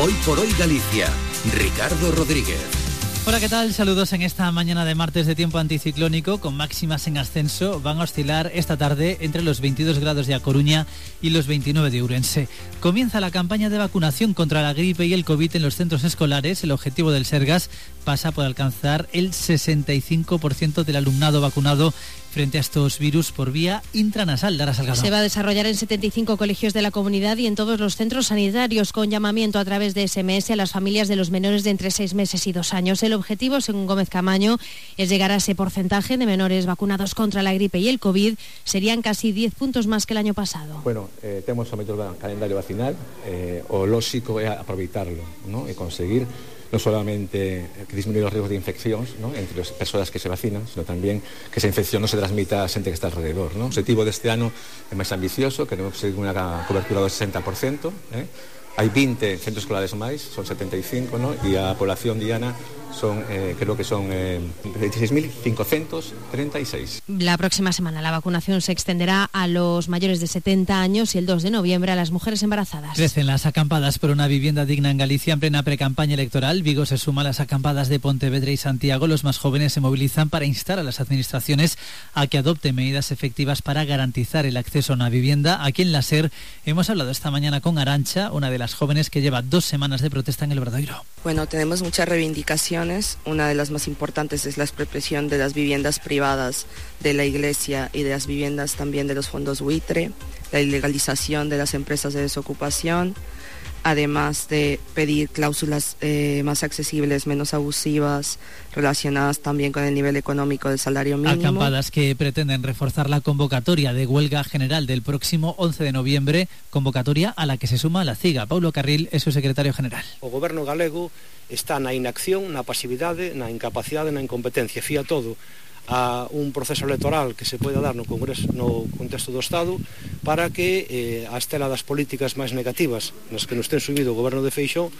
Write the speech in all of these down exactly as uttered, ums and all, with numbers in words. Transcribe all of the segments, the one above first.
Hoy por hoy Galicia. Ricardo Rodríguez. Hola, ¿qué tal? Saludos en esta mañana de martes de tiempo anticiclónico con máximas en ascenso. Van a oscilar esta tarde entre los veintidós grados de A Coruña y los veintinueve de Ourense. Comienza la campaña de vacunación contra la gripe y el COVID en los centros escolares. El objetivo del Sergas pasa por alcanzar el sesenta y cinco por ciento del alumnado vacunado frente a estos virus por vía intranasal. Lara Salgado. Se va a desarrollar en setenta y cinco colegios de la comunidad y en todos los centros sanitarios, con llamamiento a través de ese eme ese a las familias de los menores de entre seis meses y dos años. El objetivo, según Gómez Camaño, es llegar a ese porcentaje de menores vacunados contra la gripe y el COVID. Serían casi diez puntos más que el año pasado. Bueno, eh, temos o mellor calendario vacinal, eh, o lóxico é aproveitarlo, ¿no? E conseguir no solamente que disminuir los riesgos de infeccións, ¿no?, entre las persoas que se vacinan, sino también que esa infección no se transmita a xente que está alrededor, ¿no? O objetivo deste ano é máis ambicioso, queremos conseguir unha cobertura do sesenta por ciento, eh? Hai vinte centros escolares máis, son setenta y cinco, ¿no? E a población diana son, eh, creo que son eh, veintiséis mil quinientos treinta y seis. La próxima semana la vacunación se extenderá a los mayores de setenta años y el dos de noviembre a las mujeres embarazadas. Crecen las acampadas por una vivienda digna en Galicia en plena precampaña electoral. Vigo se suma a las acampadas de Pontevedra y Santiago. Los más jóvenes se movilizan para instar a las administraciones a que adopten medidas efectivas para garantizar el acceso a una vivienda. Aquí en la SER hemos hablado esta mañana con Arancha, una de las jóvenes que lleva dos semanas de protesta en el Obradoiro. Bueno, tenemos muchas reivindicaciones. Una de las más importantes es la expropiación de las viviendas privadas de la Iglesia y de las viviendas también de los fondos buitre, la ilegalización de las empresas de desocupación, además de pedir cláusulas eh, más accesibles, menos abusivas, relacionadas también con el nivel económico del salario mínimo. Acampadas que pretenden reforzar la convocatoria de huelga general del próximo once de noviembre, convocatoria a la que se suma la CIGA. Paulo Carril es su secretario general. O goberno galego está na inacción, na pasividade, na incapacidade, na incompetencia. Fía todo a un proceso electoral que se pode dar no Congreso, no contexto do Estado, para que eh, a estela das políticas máis negativas nas que nos ten subido o goberno de Feixóo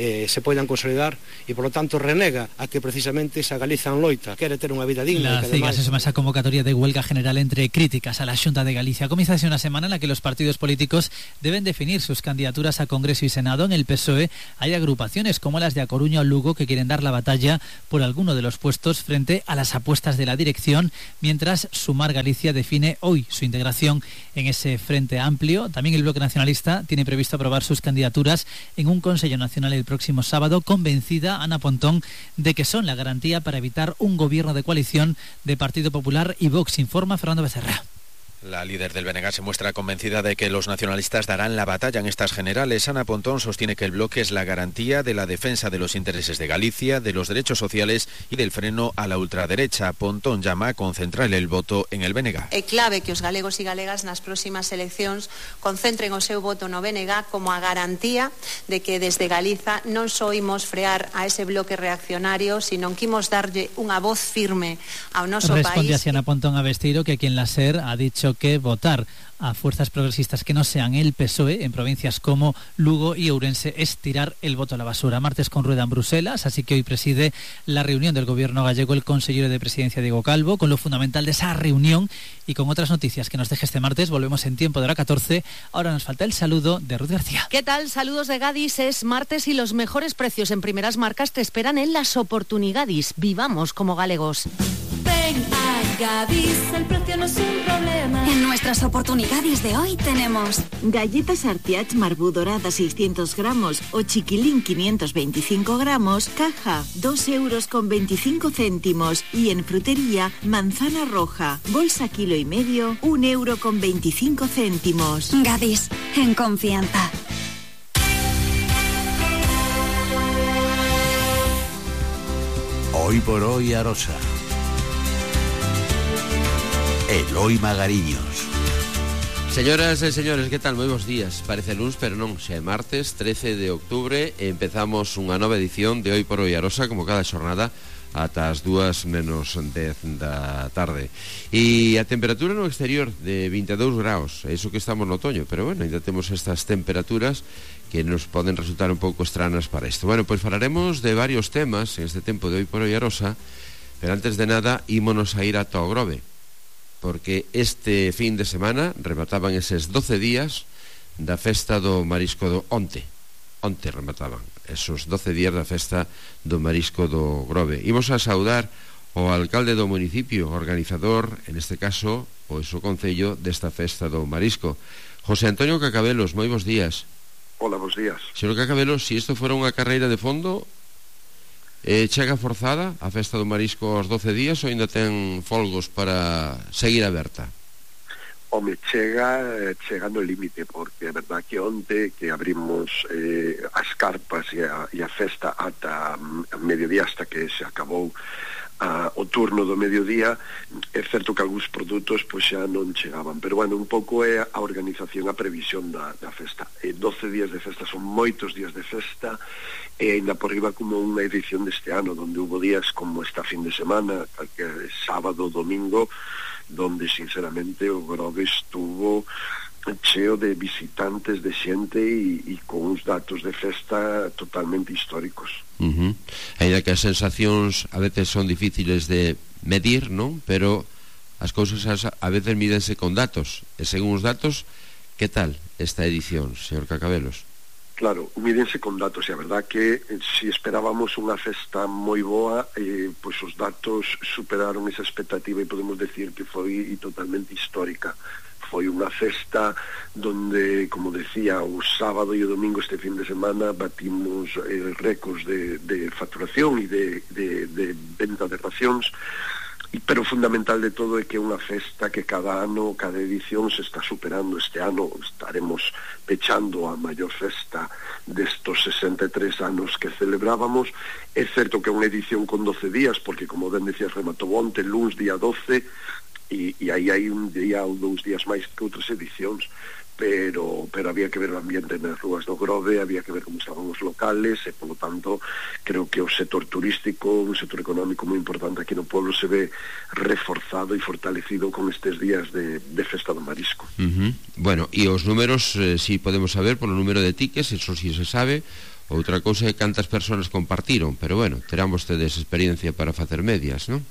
eh, se poidan consolidar e, por lo tanto, renega a que precisamente esa Galiza en loita quere ter unha vida digna. La CIGA se suma a esa convocatoria de huelga general entre críticas a la Xunta de Galicia. Comienza así una semana en la que los partidos políticos deben definir sus candidaturas a Congreso y Senado. En el P S O E hay agrupaciones como las de A Coruña o Lugo que quieren dar la batalla por alguno de los puestos frente a las apuestas de la dirección, mientras Sumar Galicia define hoy su integración en ese frente amplio. También el Bloque Nacionalista tiene previsto aprobar sus candidaturas en un Consejo Nacional el próximo sábado, convencida Ana Pontón de que son la garantía para evitar un gobierno de coalición de Partido Popular y Vox, informa Fernando Becerra. La líder del B N G se muestra convencida de que los nacionalistas darán la batalla en estas generales. Ana Pontón sostiene que el bloque es la garantía de la defensa de los intereses de Galicia, de los derechos sociales y del freno a la ultraderecha. Pontón llama a concentrar el voto en el B N G. É clave que os galegos e galegas nas próximas eleccións concentren o seu voto no B N G como a garantía de que desde Galiza non só imos frear a ese bloque reaccionario, sino que imos darlle unha voz firme ao noso país. Responde así Ana Pontón a Besteiro, que quien la SER ha dicho que votar a fuerzas progresistas que no sean el P S O E en provincias como Lugo y Ourense es tirar el voto a la basura. Martes con rueda en Bruselas, así que hoy preside la reunión del gobierno gallego el consejero de presidencia Diego Calvo, con lo fundamental de esa reunión y con otras noticias que nos deje este martes. Volvemos en tiempo de hora catorce. Ahora nos falta el saludo de Ruth García. ¿Qué tal? Saludos de Gadis. Es martes y los mejores precios en primeras marcas te esperan en las oportunidades. Vivamos como galegos. Ven a Gadis, el precio no es un problema. En nuestras oportunidades de hoy tenemos galletas Artiach Marbú dorada seiscientos gramos o chiquilín quinientos veinticinco gramos, caja dos euros con veinticinco céntimos, y en frutería manzana roja, bolsa kilo y medio, un euro con veinticinco céntimos. Gadis, en confianza. Hoy por hoy Arosa. Eloi Magariños. Señoras e señores, que tal? Moi bons días. Parece luns, pero non, xa é martes, trece de octubre, e empezamos unha nova edición de Hoy por Hoy Arosa, como cada xornada, ata as dúas menos dez da tarde. E a temperatura no exterior de vinte e dous graus, é iso que estamos no otoño, pero bueno, ainda temos estas temperaturas que nos poden resultar un pouco estranas para isto. Bueno, pois falaremos de varios temas en este tempo de Hoy por Hoy Arosa, pero antes de nada, ímonos a ir a Togrove, porque este fin de semana remataban eses doce días da festa do marisco do onte. onte remataban esos doce días da festa do marisco do Grove. Imos a saudar o alcalde do municipio, organizador, en este caso, o iso concello desta festa do marisco, José Antonio Cacabelos. Moi bons días. Hola, bons días. Señor Cacabelos, se isto fora unha carreira de fondo, eh, chega forzada a festa do marisco aos doce días ou ainda ten folgos para seguir aberta? Home, chega, chega no límite, porque é verdad que onte que abrimos eh, as carpas e a, e a festa ata a mediodía, hasta que se acabou a, o turno do mediodía, é certo que algúns produtos pois xa non chegaban, pero bueno, un pouco é a organización, a previsión da, da festa. E doce días de festa son moitos días de festa, e ainda por riba como unha edición deste ano, donde hubo días como esta fin de semana, que é sábado, domingo, donde sinceramente o Grove estuvo cheo de visitantes, de xente e, e con uns datos de festa totalmente históricos. Uh-huh. Ainda que as sensacións a veces son difíciles de medir, non? Pero as cousas a veces mídense con datos, e según os datos, que tal esta edición, señor Cacabelos? Claro, mídense con datos, e a verdad que eh, si esperábamos unha festa moi boa, eh, pois os datos superaron esa expectativa e podemos decir que foi totalmente histórica. Foi unha festa donde, como decía, o sábado e o domingo este fin de semana batimos eh, récords de, de facturación e de, de, de venta de racións, pero fundamental de todo é que é unha festa que cada ano, cada edición se está superando. Este ano estaremos pechando a maior festa destos sesenta e tres anos que celebrábamos. É certo que é unha edición con doce días, porque como ben decías, rematou onte, luns día doce, e, e aí hai un día ou dous días máis que outras edicións, pero pero había que ver o ambiente nas rúas do Grove, había que ver como estaban os locales, e polo tanto creo que o sector turístico, un sector económico moi importante aquí no pueblo, se ve reforzado e fortalecido con estes días de, de festa do marisco. Uh-huh. Bueno, e os números, eh, si podemos saber polo número de tickets, eso si se sabe. Outra cousa é cantas persoas compartiron, pero bueno, terán vostedes experiencia para facer medias, non?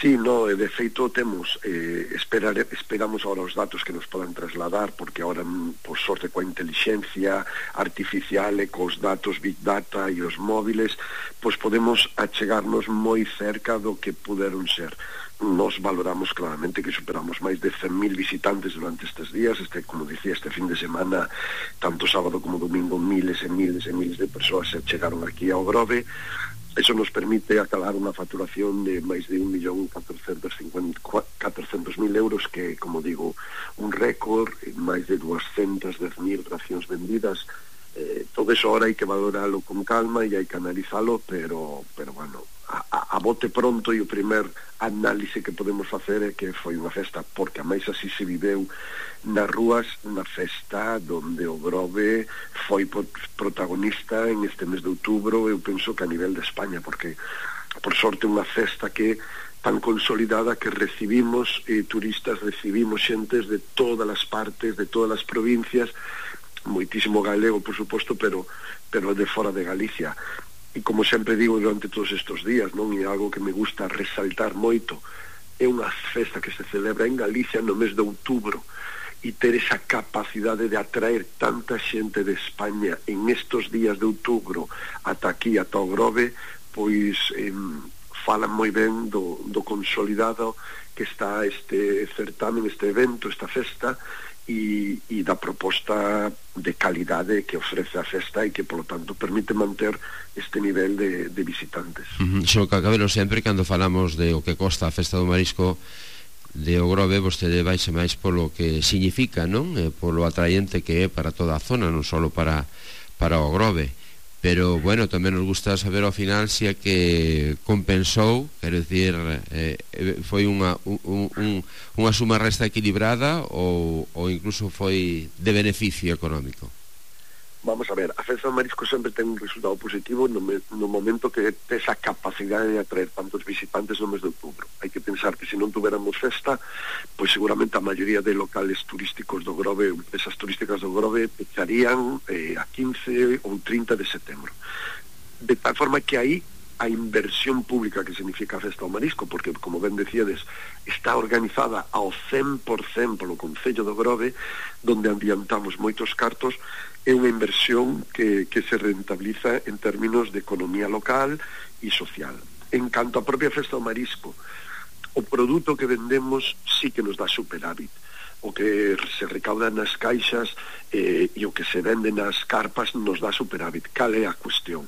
Sí, no, de feito temos eh, esperar, esperamos agora os datos que nos podan trasladar, porque agora, por sorte, coa inteligencia artificial e cos datos Big Data e os móviles, pois podemos achegarnos moi cerca do que puderon ser. Nos valoramos claramente que superamos máis de cen mil visitantes durante estes días. Este, como dicía, este fin de semana, tanto sábado como domingo, miles e miles e miles de persoas se chegaron aquí ao Grove. Eso nos permite acabar unha facturación de máis de un millón catrocentos mil euros, que, como digo, un récord, máis de doscientas dez mil racións vendidas. Eh, todo eso ahora hai que valoralo con calma e hai que analizalo, pero, pero bueno, a, a, a bote pronto, e o primer análise que podemos facer é que foi unha festa, porque a máis así se viveu nas rúas, unha festa donde o Grove foi protagonista en este mes de outubro, eu penso que a nivel de España, porque por sorte unha festa que tan consolidada que recibimos eh, turistas, recibimos xentes de todas as partes, de todas as provincias, moitísimo galego, por suposto, pero pero de fora de Galicia. E como sempre digo durante todos estes días, non é algo que me gusta resaltar moito, é unha festa que se celebra en Galicia no mes de outubro, e ter esa capacidade de atraer tanta xente de España en estos días de outubro ata aquí, ata o Grove, pois eh, falan moi ben do, do consolidado que está este certamen, este evento, esta festa, e, e da proposta de calidade que ofrece a festa e que, polo tanto, permite manter este nivel de, de visitantes. Uh-huh. Xo Cacabelos, sempre cando falamos de o que costa a festa do marisco de o Grove, vostede vaixe máis polo que significa, non? E polo atraente que é para toda a zona, non só para, para o Grove. Pero, bueno, tamén nos gusta saber ao final se é que compensou, quero dicir, eh, foi unha, un, un, unha suma resta equilibrada ou, ou incluso foi de beneficio económico. Vamos a ver, a festa do marisco sempre ten un resultado positivo no, me, no momento que ten esa capacidade de atraer tantos visitantes no mes de outubro. Hai que pensar que se non tuveramos festa, pois seguramente a maioría de locales turísticos do Grove, empresas turísticas do Grove, pecharían eh, a quince ou trinta de setembro. De tal forma que aí a inversión pública que significa a Festa do Marisco, porque, como ben decíades, está organizada ao cen por cen polo Concello do Grove, donde adiantamos moitos cartos. É unha inversión que, que se rentabiliza en términos de economía local e social. En canto a propia Festa do Marisco, o produto que vendemos sí que nos dá superávit. O que se recauda nas caixas eh, e o que se vende nas carpas nos dá superávit. Cal é a cuestión?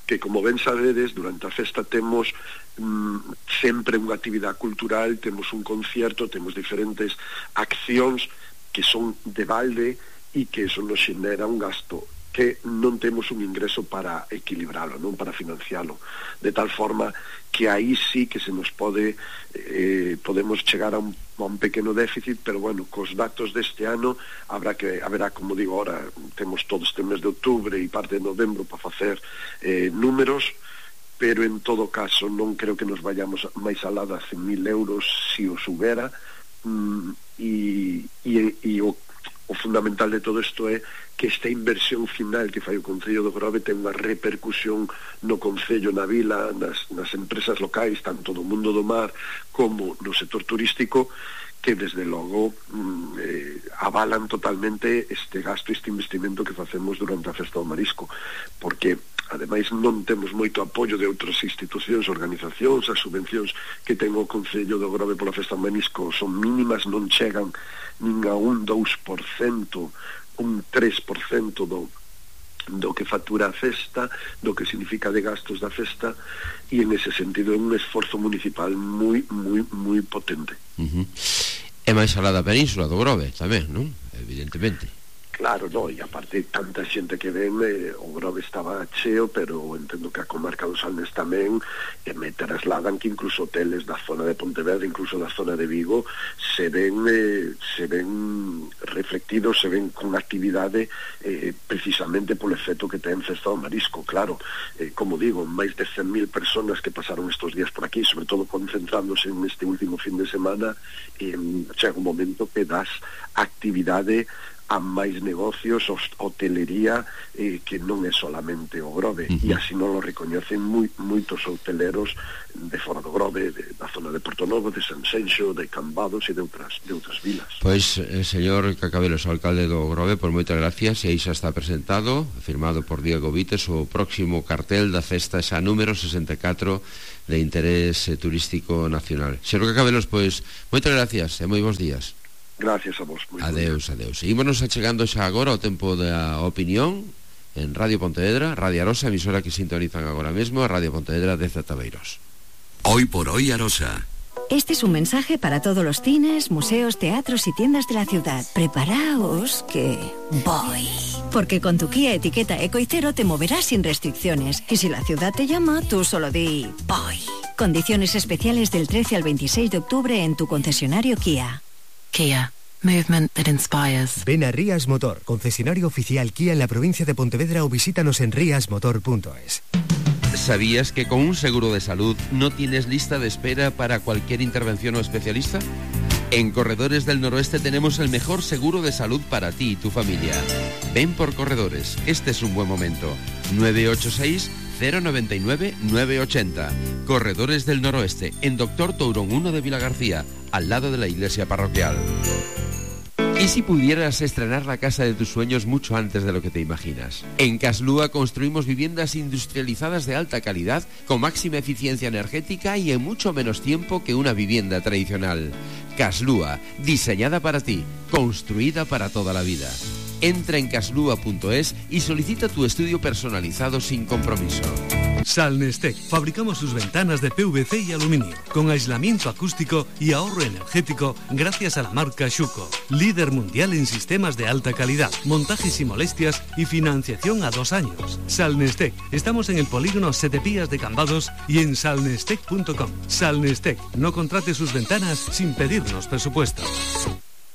Que, como ben sabedes, durante a festa temos mm, sempre unha actividade cultural, temos un concierto, temos diferentes accións que son de balde e que eso nos xenera un gasto que non temos un ingreso para equilibralo, non para financialo, de tal forma que aí sí que se nos pode eh, podemos chegar a un, a un pequeno déficit, pero bueno, cos datos deste ano habrá que, haberá, como digo, ahora temos todo este mes de outubro e parte de novembro para facer eh, números, pero en todo caso non creo que nos vayamos máis alá das cen mil euros se os subera, mm, e, e, e o O fundamental de todo isto é que esta inversión final que fai o Concello do Grove ten unha repercusión no Concello, na vila, nas, nas empresas locais, tanto do mundo do mar como no sector turístico, que desde logo mm, eh, avalan totalmente este gasto, este investimento que facemos durante a Festa do Marisco, porque ademais non temos moito apoio de outras institucións, organizacións. As subvencións que ten o Concello do Grove pola Festa do Marisco son mínimas, non chegan nin a un dous por cento, un tres por cento do, do que factura a festa, do que significa de gastos da festa, e en ese sentido é un esforzo municipal moi, moi, moi potente. Uh-huh. É máis alá da península do Grove tamén, non? Evidentemente. Claro, no, e aparte tanta xente que ven, eh, o Grove estaba cheo, pero entendo que a comarca do Salnés tamén, e me trasladan que incluso hoteles da zona de Pontevedra, incluso da zona de Vigo, se ven eh, se ven reflectidos, se ven con actividade eh, precisamente polo efecto que ten Festa do Marisco. Claro, eh, como digo, máis de cen mil personas que pasaron estos días por aquí, sobre todo concentrándose en este último fin de semana, eh, chega un momento que das actividade a máis negocios, hotelería, eh, que non é solamente o Grove, uh-huh. E así non lo recoñecen moi, moitos hoteleros de fora do Grove, de, da zona de Porto Novo, de Sanxenxo, de Cambados e de outras, de outras vilas. Pois, eh, señor Cacabelos, o alcalde do Grove, por moitas gracias, e aí xa está presentado, firmado por Diego Vites, o próximo cartel da festa xa número sesenta e catro de interés eh, turístico nacional. Señor Cacabelos, pois, moitas gracias e moi bons días. Gracias a vos. Adeus, adeus. Seguímonos achegando xa agora ao tempo da opinión en Radio Pontevedra, Radio Arosa, emisora que sintonizan agora mesmo, a Radio Pontevedra de Zatabeiros. Hoy por hoy Arosa. Este es un mensaje para todos los cines, museos, teatros y tiendas de la ciudad. Preparaos que voy. Porque con tu Kia etiqueta Eco y Cero te moverás sin restricciones. Y si la ciudad te llama, tú solo di voy. Condiciones especiales del trece al veintiséis de octubre en tu concesionario Kia. Kia, movement that inspires. Ven a Rías Motor, concesionario oficial Kia en la provincia de Pontevedra, o visítanos en rias motor punto es. ¿Sabías que con un seguro de salud no tienes lista de espera para cualquier intervención o especialista? En Corredores del Noroeste tenemos el mejor seguro de salud para ti y tu familia. Ven por Corredores, este es un buen momento. nueve ocho seis, cero nueve nueve, nueve ocho cero. Corredores del Noroeste, en Doctor Tourón uno de Vilagarcía, al lado de la iglesia parroquial. ¿Y si pudieras estrenar la casa de tus sueños mucho antes de lo que te imaginas? En Caslúa construimos viviendas industrializadas de alta calidad, con máxima eficiencia energética y en mucho menos tiempo que una vivienda tradicional. Caslúa, diseñada para ti, construida para toda la vida. Entra en caslúa punto es y solicita tu estudio personalizado sin compromiso. Salnestec. Fabricamos sus ventanas de P V C y aluminio, con aislamiento acústico y ahorro energético gracias a la marca Schuco, líder mundial en sistemas de alta calidad, montajes y molestias y financiación a dos años. Salnestec. Estamos en el polígono Setepías de Cambados y en salnestec punto com. Salnestec. No contrate sus ventanas sin pedirnos presupuesto.